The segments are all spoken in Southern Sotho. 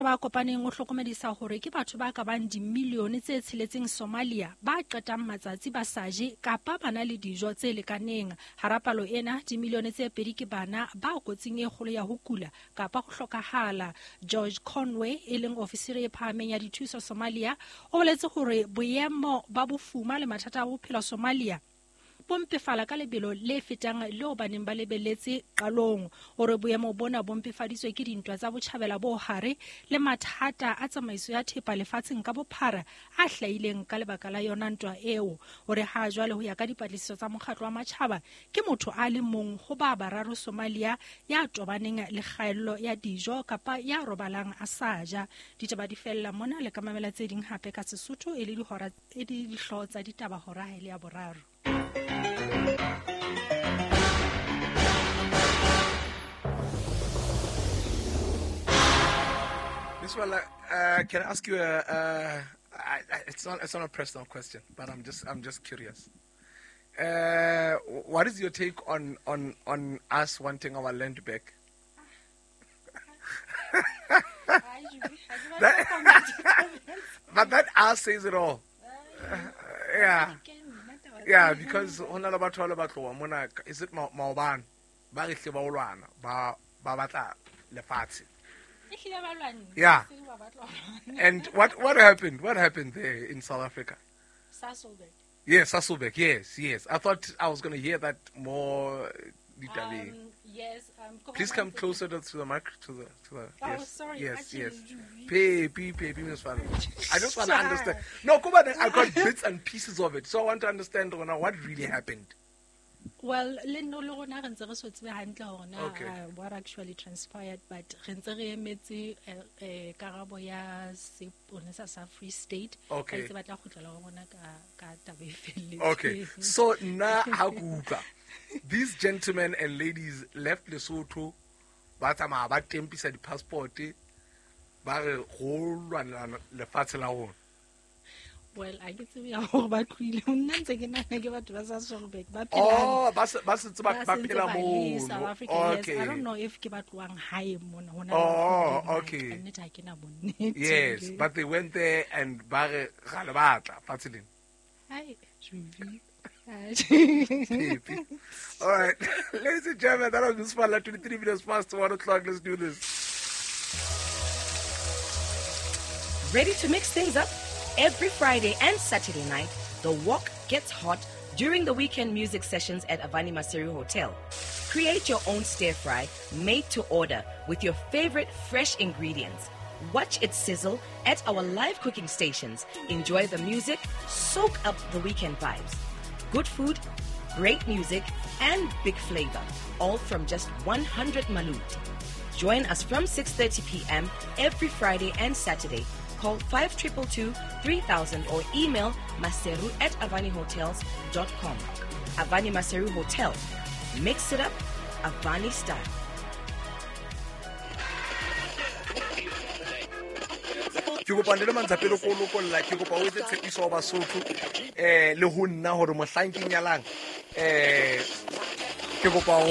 Ba kopaneng o hlokomedisa hore ke batho ba ka bang dimilione tse tsheletseng Somalia ba qetang matsatsi ba sa je kapa ba na le dijo tse lekaneng. Hara palo ena, dimilione tse pedi ke bana ba kotsing e kgolo ya ho kula kapa ho hlokahala. George Conway, e leng ofisiri e phahameng ya dithuso Somalia, o boletse hore boemo ba bofuma le mathata a bophelo Somalia bo mpefala ka lebelo le fetang leo ba neng ba lebeletse qalong. O re boemo bona bo mpefaditswe ke dintwa tsa botjhabela bo hare le mathata a tsamaiso ya thepa lefatsheng ka bophara a hlahileng ka lebaka la yona ntwa eo. O re ha jwale ho ya ka dipatlisiso tsa mokgatlo wa matjhaba, ke motho a le mong ho ba bararo Somalia ya tobaneng le kgaello ya dijo kapa ya robalang a sa ja. Ditaba di fella mona, le ka mamela tse ding hape ka Sesotho e le dihora e le dihlooho tsa ditaba hora ha e le ya boraro. Miss Walla, can I ask you it's not a personal question, but I'm just curious. What is your take on us wanting our land back? But that us says it all. Yeah. Yeah, because hona le batho ba le batloa mona, is it maobane ba re hle ba olwana ba batla lefatshe. Yeah. And what happened? What happened there in South Africa? Sasolburg. Yes, Sasolburg. Yes. I thought I was going to hear that more. Yes. Please come closer to the mic. To the. Oh, yes, sorry. Yes, actually, yes. Pay, Miss Fano. I just want to understand. No, come on. I got bits and pieces of it, so I want to understand what really happened. Well, le no le rona re ntse re so tsebe hantle hore na what actually transpired, but re ntse re emetse karabo ya seponesa sa Free State. Okay. Ba itse ba tla kgutlela ho rona ka taba e felletseng. Okay. So na ha ke utlwa, these gentlemen and ladies left Lesotho, ba tsamaya ba tempisa di-passport, ba re go lwanela lefatshe la rona. Well, I ke tsebe ya hore ba tlohile. Nna ntse ke nahana ke batho ba Sasolburg ba phelang. Oh, ba sentse ba phela mono. South Africa, okay. Yes. I don't know if ke ba tlohang hae mona hona. Oh, okay. Nnete ha ke na bonnete. Yes, but they went there and ba re ga le batla fatshe lena. Hai, Juvi. All right, ladies and gentlemen, that was Miss Fala, 23 minutes past 1 o'clock. Let's do this. Ready to mix things up? Every Friday and Saturday night, the walk gets hot during the weekend music sessions at Avani Maseru Hotel. Create your own stir fry made to order with your favorite fresh ingredients. Watch it sizzle at our live cooking stations. Enjoy the music, soak up the weekend vibes. Good food, great music, and big flavor, all from just 100 malut. Join us from 6:30 p.m. every Friday and Saturday. Call 5222-3000 or email maseru@avanihotels.com. Avani Maseru Hotel. Mix it up, Avani style. Ke kopa le mantsha pele ko lokolla, ke kopa o etse tshepiso wa Basotho le ho nna hore mohlang ke nyalang ke kopa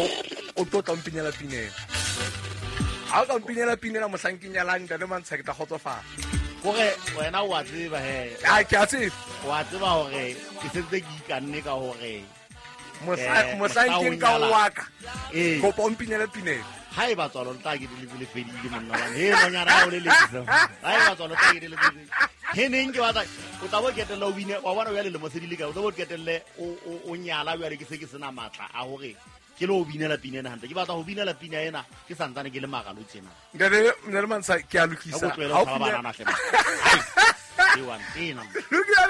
o tlo tla mpinyela pinela. Ha o ka mpinyela pinela mohlang ke nyalang ntate Mantsha ke tla kgotsofala. Hore wena o a tseba he. A ke a tseba. O a tseba hore ke sentse ke ikanne ka hore mohlang ke nka wa ka. Kopa o mpinyela pinela. Ha e ba tswalo tla ke le le fedile monna wa he nonyana ha o le lekisa. Ha e ba tswalo tla ke le fedile. He neng ke batla o tla bo ketella o bine wa bona o ya le lemo se di le ka o tla bo ketelle o nyala o ya le ke se ke sena matla a hore ke lo binela pina ena hantle. Ke batla ho binela pina ena ke santsane ke le magalo tsena. Ntate nna le Mantsha ke a lokisa. Ha o tlohele ho tshaba banana hle. Ai. Ke wa ntena. Lokisa.